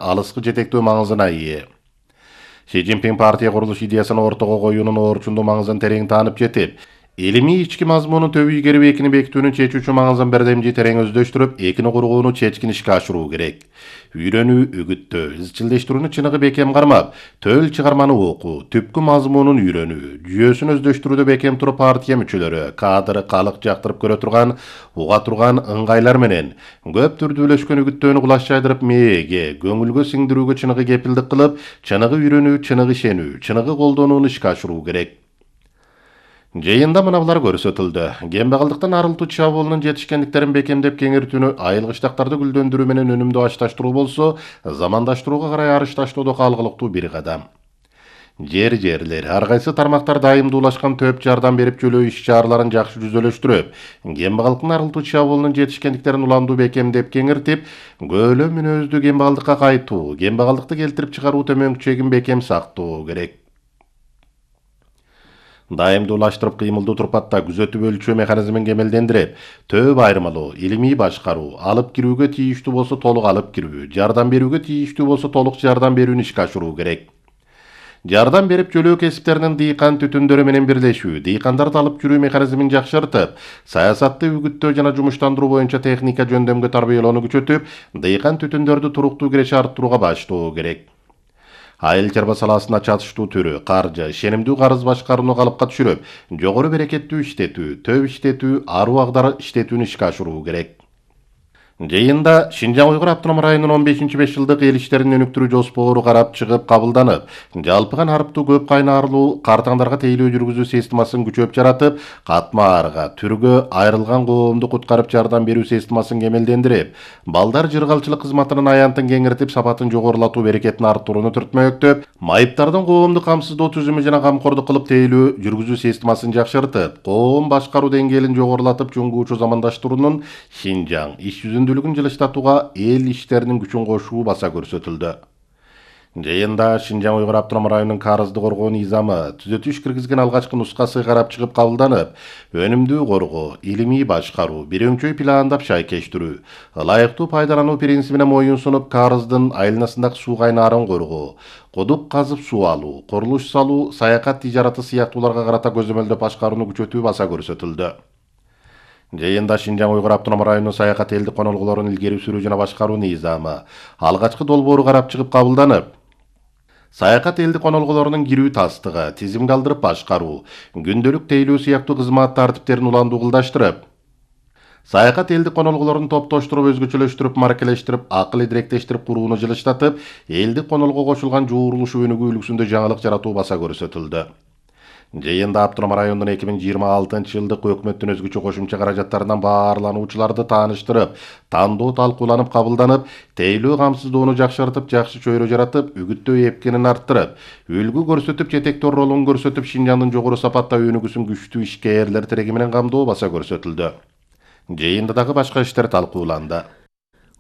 алыскы жетектөө маңызына ээ. Си Цзиньпин партия курулуш идеясын ортого коюунун оорчундуу маңызын терең таанып жетип, илимий ички мазмунун төбү ийгерип экини бекитүүнүн чечүүчү маңызын бердемжи терең өздөштүрүп, экини кургоону чечкин ишке ашыруу керек. Үйрөнүү, үгүттөө, изчилдештирүүнү чыныгы бекем кармап, төл чыгарманы окуу, түпкү мазмунун үйрөнүү, жүйөсүн өздөштүрүүдө бекем туруп партия мүчөлөрү, кадр, калык жактырып көрө турган, уга турган ыңгайлар менен көп түрдүүлөшкөн үгүттөөнү кулаш жайдырып мээге, көңүлгө сиңдирүүгө чыныгы кепилдик кылып, чыныгы үйрөнүү, чыныгы ишенүү, чыныгы колдонууну ишке ашыруу керек. Жыйында мына булар көрсөтүлдү. Кембагалдыктан арылтуу чабуулунун жетишкендиктерин бекемдеп кеңейтүүнү айылгычтактарды гүлдөндүрүү менен өнүмдүү ачташтыруу болсо, замандаштырууга карай арышташтоодо калгылыктуу бир кадам. Жерлер, ар кайсы тармактар дайымдуулашкан төп жардам берип жөлөө иш-чараларын жакшы жүзөлөштүрүп, кембагалдыктын арылтуу чабуулунун жетишкендиктерин уламдуу бекемдеп кеңиртип, көөлөм мүнөздүү кембагалдыкка кайтуу, кембагалдыкты келтирип чыгаруу төмөнкү чегин бекем сактоо керек. Дайымдуулаштырып кыймылдуу турпатта күзөтүп өлчөө механизмин кемелдендирип, төп айырмалоо, илимий башкаруу, алып кирүүгө тийиштүү болсо толук алып кирүү, жардам берүүгө тийиштүү болсо толук жардам берүүнү ишке ашыруу керек. Жардам берип жөлөө кесиптеринин дыйкан түтүндөрү менен бирлешүү, дыйкандарды алып жүрүү механизмин жакшыртып, саясатты үгүттөө жана жумуштандыруу боюнча техника жөндөмгө тарбиялоону күчөтүп, дыйкан түтүндөрдү туруктуу киреше арттырууга баштоо керек. Айыл чарба саласына чатыштуу түрү, каржы, ишенимдүү карыз башкарууну калыпка түшүрүп, жогору берекеттүү иштетүү, төп иштетүү, аруу агдар иштетүүнү ишке ашыруу керек. Жыйында Шинжаң Уйгур автоном районунун 15-5 жылдык эл иштерин өнүктүрүү жоспору карап чыгып кабылданып, жалпыган арыптуу көп кайнарлуу картаңдарга тейлөө жүргүзүү системасын күчөп жаратып, катма арга, түргө айрылган коомду куткарып жардам берүү системасын кемелдендирип, балдар жыргалчылык кызматынын аянтын кеңиртип, сапатын жогорулатуу берекетин арттырууну түртмөктөп, майыптардын коомду камсыздоо түзүмү жана камкордук кылып тейлөө жүргүзүү системасын жакшыртып, коом башкаруу деңгээлин жогорулатып, чуңгуучу замандаштыруунун Шинжаң иш жүзүндүүлүгүн жылыштатууга эл иштеринин күчүн кошуу баса көрсөтүлдү. Жыйында Шинжаң Уйгур автоном районунун карызды коргоо низамы түзөтүү иш киргизген алгачкы нускасы карап чыгып кабылданып, өнүмдүү коргоо, илимий башкаруу, бир өңчөй пландап шайкештирүү, ылайыктуу пайдалануу принцибине моюн сунуп, карыздын айланасындагы суу кайнаарын коргоо, кудук казып суу алуу, курулуш салуу, саякат тижараты сыяктууларга карата көзөмөлдөп башкарууну күчөтүү баса көрсөтүлдү. Жыйында Шинжаң Уйгур автоном районунун саякат элдик конолгулорун илгери сүрүү жана башкаруу низамы алгачкы долбоору карап чыгып кабылданып, саякат элдик конолгулорунун кирүү тастыгы, тизимге алдырып башкаруу, күндөлүк тейлөө сыяктуу кызмат тартиптерин уламдуу кылдаштырып, саякат элдик конолгулорун топтоштуруп, өзгөчөлөштүрүп, маркелештирип, акыл идиректештирип курууну жылыштатып, элдик конолго кошулган жуурулуш өнүгүү үлгүсүндө жаңылык жаратуу баса көрсөтүлдү. Жыйында автоном райондун 2026-жылдык өкмөттүн өзгөчө кошумча каражаттарынан баарлануучуларды тааныштырып, тандоо талкууланып кабылданып, тейлөө камсыздоону жакшыртып, жакшы чөйрө жаратып, үгүттөө эпкенин арттырып, үлгү көрсөтүп, жетектөө ролун көрсөтүп, Шинжаңдын жогору сапатта өнүгүүсүн күчтүү ишкерлер тиреги менен камдоо баса көрсөтүлдү. Жыйында дагы башка иштер талкууланды.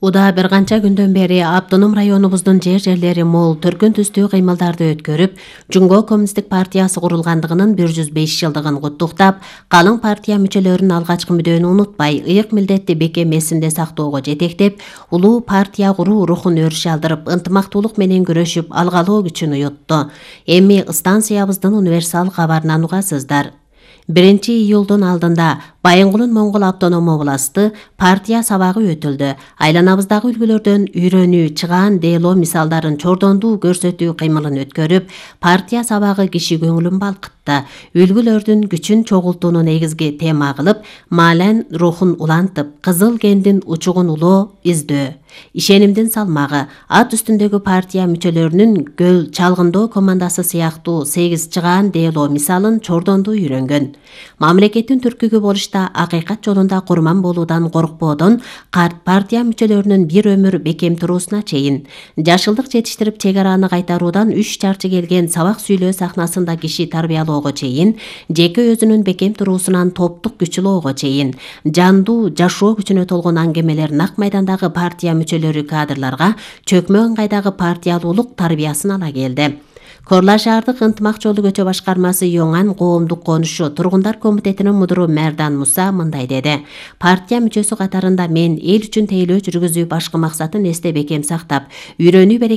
Уда бир канча күндөн бери автоном районубуздун жерлери мол төркүн түстүү кыймылдарды өткөрүп, Жумго коммунисттик партиясы курулгандыгынын 105 жылдыгын куттуктап, калың партия мүчөлөрүнүн алгачкы мүдөөнү унутпай, ыйык милдетти бекем эсинде сактоого жетектеп, улуу партия куруу рухун өрүшө алдырып, ынтымактуулук менен күрөшүп, алгалоо күчүн уютту. Эми станциябыздын универсал кабарынан угасыздар. 1-июлдун алдында Байынгулун Моңгол автоном областы партия сабагы өтүлдү. Айланабыздагы үлгүлөрдөн үйрөнүү, чыгаан дейлоо мисалдарын чордондуу көрсөтүү кыймылын өткөрүп, партия сабагы киши көңүлүн балкытты. Үлгүлөрдүн күчүн чогултууну негизги тема кылып, маален рухун улантып, кызыл кендин учугун улоо издөө, ишенимдин салмагы, ат үстүндөгү партия мүчөлөрүнүн көл чалгындоо командасы сыяктуу 8 чыгаан дейлоо мисалын чордондуу үйрөнгөн. Мамлекеттин түркүгү болушта акыйкат жолунда курман болуудан коркпоодон карт партия мүчөлөрүнүн бир өмүр бекем туруусуна чейин, жашылдык жетиштирип чек араны кайтаруудан 3 чарчы келген сабак сүйлөө сахнасында киши тарбиялоого чейин, жеке өзүнүн бекем туруусунан топтук күч улоого чейин, жандуу жашоо күчүнө толгон аңгемелер нак майдандагы партия мүчөлөрү кадрларга чөкмө ыңгайдагы партиялуулук тарбиясын ала келди. Корла шаардык ынтымак жолу көчө башкармасы Йоңан коомдук конушу тургундар комитетинин мудуру Мэрдан Муса мындай деди. Партия мүчөсү катарында мен эл үчүн тейлөө жүргүзүү башкы максатын эсте бекем сактап, үйрөнүү